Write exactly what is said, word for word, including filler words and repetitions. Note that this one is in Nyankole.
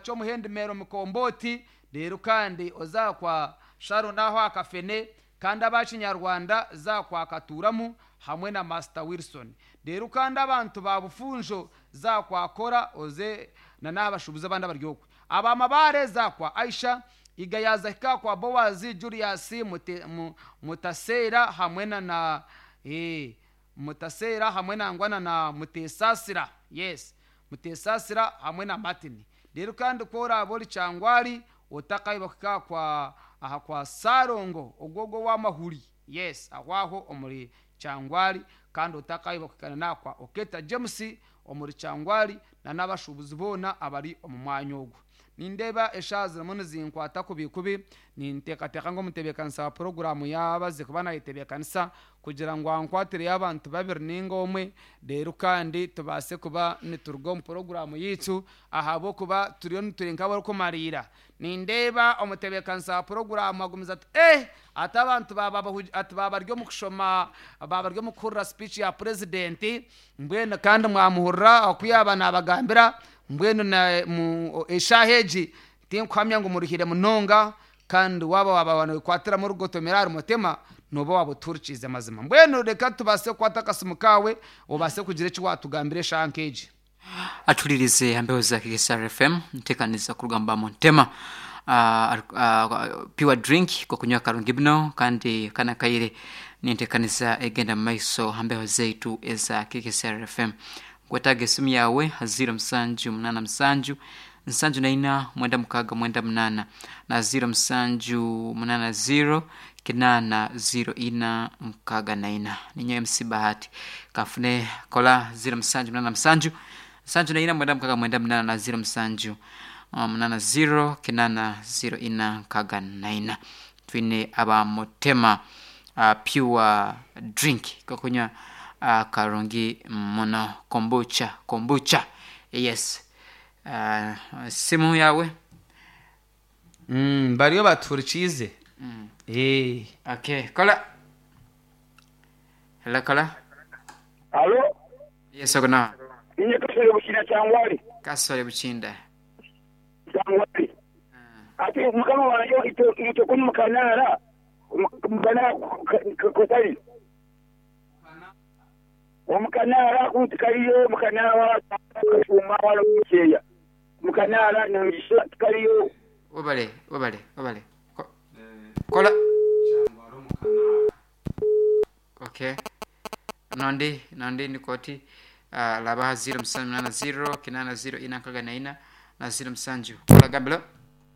Kyomuhendo Mikomboti. Reero kandi oza kwa Sharon aho akafene, kandi abakinyarwanda za kwa Katuramu hamwe na Master Wilson. Reero kandi abantu ba Bufunjo, za kwa Kora, oze na n'abashubuzi abandi abaryokwe. Abamabare, za kwa Aisha Igayaza, hika kwa Bowazi Julius Mute, mu, Mutasera hamwe na na eh, Mutasera hamwe na ngwana na Mutesasira, yes, Mutesasira hamwe na Martin. Rero kandi ko oraba ori Kyangwali, otakaiba kuhika kwa aha kwa Sarongo ogwogo w'amahuri, yes, aho aho omuri Kyangwali. Kandi otakaiba kuhikana nakwa Oketa James omuri Kyangwali na n'abashubuzi boona abari omu mwanya ogwo. Nindeeba eshaaha zirimu nizinkwata kubi kubi. Ninteekateeka ngu omutebeekanisa wa poroguramu yabaze kuba nayetebeekanisa kugira ngu ankwatireyo abantu babiri ninga omwe, reero kandi tubaase kuba nituruga omu poroguramu yaitu, ahabw'okuba turiyo nituri nk'abarikumariira. Nindeeba omutebeekanisa wa poroguramu agumize ati eh ati abantu baba bahugi- ati baba bari omu kushoma, baba bari omu kuhurira speech ya purezidenti. Mbwenu kandi mwamuhurira oku yaaba nabagambira. Mbwenu na- mu- eshaaha egi tinkuhamya ngu muruhire munonga, kandi waba waba nokwatiramu orugotomera ahari mutima, noba waba otuhurikiize mazima. Mbwenu reka tubaase kukwata akasimu kaawe, obaase kugira eki watugambira eshaaha nk'egi. Atulirize ambeho za K S R F M, ntekaniza kurugamba muntema uh, uh, pure drink kokunywa karungi bino. Kandi kana kaire nintekaniza egenda mumaiso hambeho zaitu eza K K S R F M. Nkwetaaga esimu yawe ha zero musanju munana musanju nsanju naina mwenda mukaaga mwenda munana na zero musanju munana zero kinana zero ina mukaaga naina. Ninyo M C Bahati. Kafune kola zero musanju munana musanju nsanju naina mwenda mukaaga mwenda munana na zero musanju uh, munana zero kinana zero ina mukaaga naina. Twine abamutema uh, pure drink kokunywa uh, karungi muno, kombucha, kombucha, yes. uh, simu yawe. Mm, bariyo batuhurikiize. Eh. Okay, kola, hello, kola. Alo, Yes, ogona. Inye Kasore Bukinda Kyangwali. Kasore Bukinda. Kyangwali. Ati mukama wange ito ito kunu mukanara mukanara kotali. Omukanara kuti kaliyo mukanara wa kashuma wala mukeya. Mukanara ngisha kaliyo. Wabale, wabale, wabale. Ko- kola okay, nondi nondi nikoti uh, labaha zero musanju munana zero kinana zero ina nkaga naina na zero musanju. Kola, gambilo.